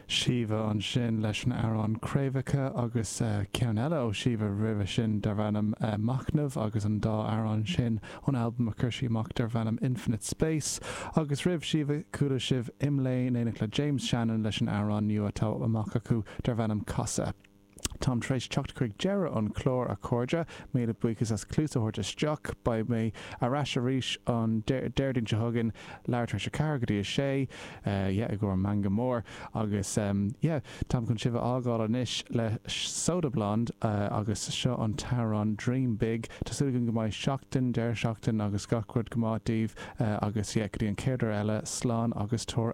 Síomha ansin leis an amhrán Craobhacha agus ceann eile ó Shíomha roimhe sin darb ainm Machnamh agus an dá amhrán sin ón albam a chuir sí amach darb ainm Infinite Space. Agus roimh Shíomha chuala sibh Imlé in éineacht le James Shannon leis an amhrán nua atá amach acu darb ainm Casadh. Táim tar éis teacht chuig deireadh an chláir, a chairde. Míle buíochas as cluas a thabhairt isteach. Beidh mé ar ais arís an Déardaoin seo chugainn, leathuair tar éis a 4 go dtí a 6, yeah, i gcomhair Meangadh Mór. Agus, yeah, táim chun sibh a fhágáil anois le Soda Blonde agus seo an t-amhrán Dream Big. Tá súil agam go mbeidh seachtain, deireadh seachtain agus gach rud go maith daoibh agus, yeah, go dtí an chéad uair eile, slán agus tabhair aire.